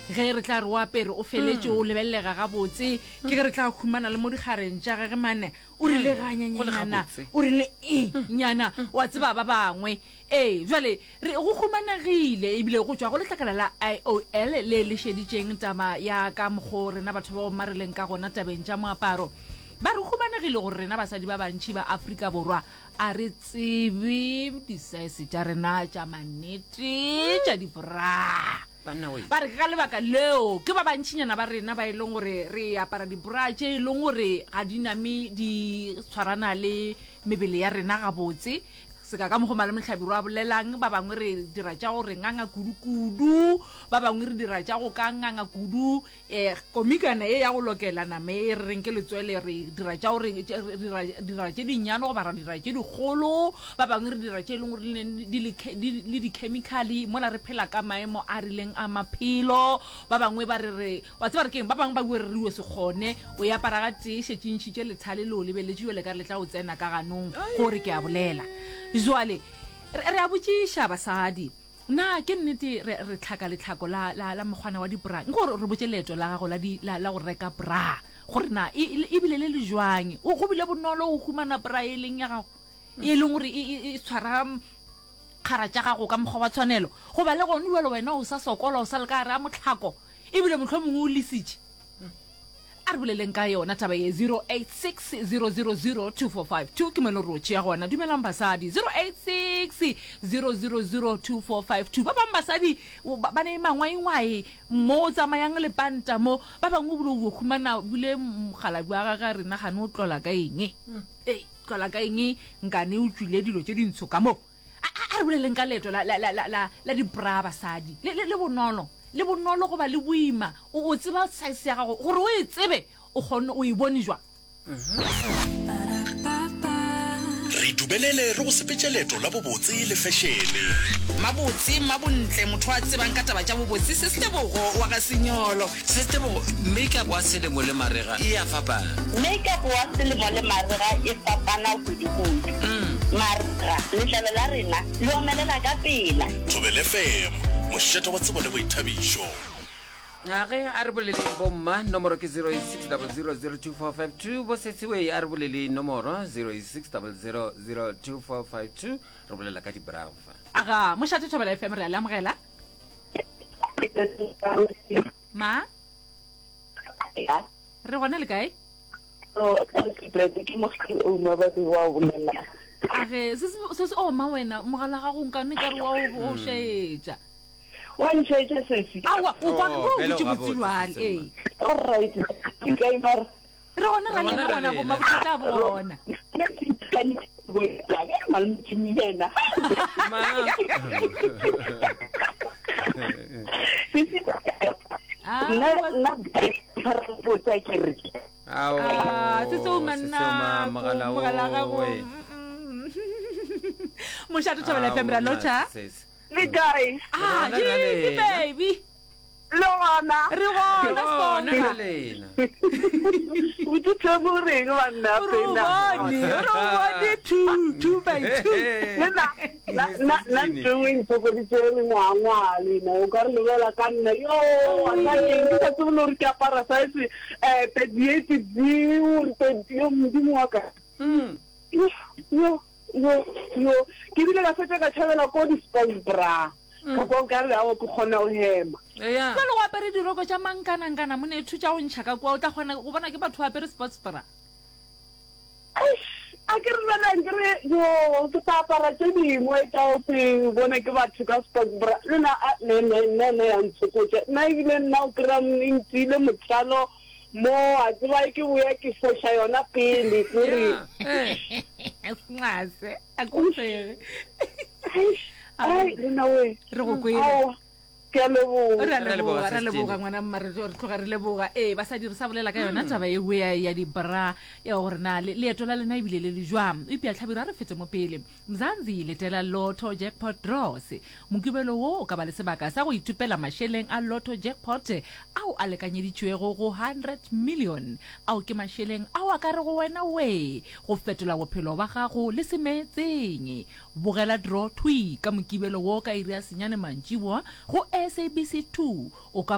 Ge re tla re o apere o feletše o lebelelega gabotse, ke ge re tla humana le mo dikgareng tša gage mane o rile ganyanyenyana, o rile e nyana, wa tseba ba bangwe. Ee, bjale re go humanegile ebile go tšwa go letlakala la IOL le le šeditšeng taba ya ka mokgo rena batho ba bomma re leng ka gona tabeng tša moaparo. Ba re humanegile gore rena basadi ba bantši ba Afrika Borwa a re tsebe disaese tša rena tša mannete tša dibra. Ba re ke ka lebaka leo ke ba bantšinyana ba rena ba e leng gore re apara dibra tše e leng gore ga di name di tshwarana le mebele ya rena gabotse. Seka ka mokgo Malome Hlabirwa a bolelang, ba bangwe re dira tša go re nganga kudu-kudu, ba bangwe re dira tša go ka nganga kudu. E, komikana ye ya go lokela nama e re reng ke letswele, re dira tša gore, re dira, dira tše dinnyane goba ra dira tše dikgolo. Ba bangwe re dira tše e leng gore di le, di le dikhemikhale mola re phela ka maemo a rileng a maphelo. Ba bangwe ba re re, wa tseba re keng, ba bangwe ba bue re re o se kgone, o e apara ga tee, šetše ntšhitše lethale le o lebeletše jwale ka re le tla o tsena ka ganong, gore ke a bolela. Jwale re, re a botšiša basadi. Na ke nnete re, re tlhaka letlhako la, la, la mokgwana wa dibra? Nko re, re botše leeto la gago la, di, la, la go reka bra, gore na e, e, e bile le le jwang. O, go bile bonolo go humana bra e leng ya gago, e leng gore e, e, e tshwara kgara tša gago ka mokgwa wa tshwanelo? Goba le gona bjalo wena o sa sokola, o sa le ka gare ga mohlako, ebile mohlomongwe o lesitše? A re boleleng ka yona taba ye 086 000 2452 ke mo e le gore o tšea gona. Dumelang basadi 086 000 2452. Ba bangwe basadi ba ne mangwaingwai mo o tsamayang lepanta mo, ba bangwe o bile o humana bile mokgalabje wa gage a re nagane o tlola ka eng. Ei, tlola ka eng nkane o tšwile dilo tše dintsho ka mo. A, a, a re boleleng ka leeto la, la, la, la, la, la dibra basadi. Le, le, le bonolo. Le bonolo goba le boima. O, o tseba size ya gago. Gore o e tsebe, o kgonne, o e bone jwang? Re dumelele re go sepetše leeto la bobotse le fešene. Mabotse, Mmabontle, motho a tsebang ka taba tša bobotse, Sis Tebogo wa ga Senyolo. Sis Tebogo, Makeup wa selemo le marega e a fapana. Makeup wa selemo le marega e fapana kudu-kudu. Marega, letlalo la rena le omelela ka pela. Thobela FM, mošate wa tsebo le boithabišo. A ge a re boleleng bomma, nomoro ke 0860002452. Bo Sesiwei a re boleleng nomoro 0860002452. Re bolela ka di-brow fa. Aga, mošate Thobela FM re a le amogela. Ma? Re gona le kae? Age, se se o ma wena, mogala gago nkane ka re wa o o šaetša. Wa nšaetša sesi. Aowa, o kwa Oh, o bjale botse o botse gabotse, jwale. sesi Ee. All right. Ke kae mara? Re gona ra lena gona bo mabothata a bona. Ma. Ah, Nna nna botsa ke re Ao, Ah, se seo se manna seo ma, mogala mogala gago. owe. Mošate Thobela Ao, FM ra nna, lotšha. sesi. le kae? Ah, Re gona ra ke lena. baby. Le gona. Re gona Re gona Sponka. ra lena. Botse Thebo o reng banna O re o pena? bone, o re o bone two, two by two. Le na na na na ntho engwe e ntshokoditse mengwangwa le ena o ka re lebela ka nna yo wa nna eng ke sa tsebe le gore ke apara size eh 38 D or 30 yo modimo wa ka. Yo yo Yo, yo, ke bile ka fetša ka tšhabela ko di-sports bra. Ka kwa nkare aowa ke kgona go hema. Eya. Jwale o apere diroko tša mankanankana monetho tša go ntšha ka kua, o tla kgona go bona ke batho ba apere sports bra. Eish, a ke re bjale nkere yo ke tla apara tše dingwe tša go se bone ke batho ka sports bra. Le nna a ne ne nna ne ya ntshokotša. Nna ebile nna o kry-a e ntiile mothalo Mo a tseba ke boya ke foša yona pele kore. Snase a ko sege. Ai lena we. Re go kwele. Ke a leboga. Re a leboga, re a leboga ngwana mma re tloga re leboga. Ee basadi re sa bolela ka yona taba e ya ya di bra ya gore na leeto la lena ebile le le jwang. Eupša Hlabirwa a re fete mo pele. Mzansi letela Lotto Jackpot Draws. Mokibelo wo o ka ba le sebaka sa go ithopela mašeleng a Lotto Jackpot ao a lekanyeditšwego go 100 million. Ao ke mašeleng ao a ka rego wena wee go fetola bophelo ba gago le semeetseng. Bogela draw thwii ka Mokibelo wo ka iri ya senyane mantšiboa go SABC 2. O ka ba.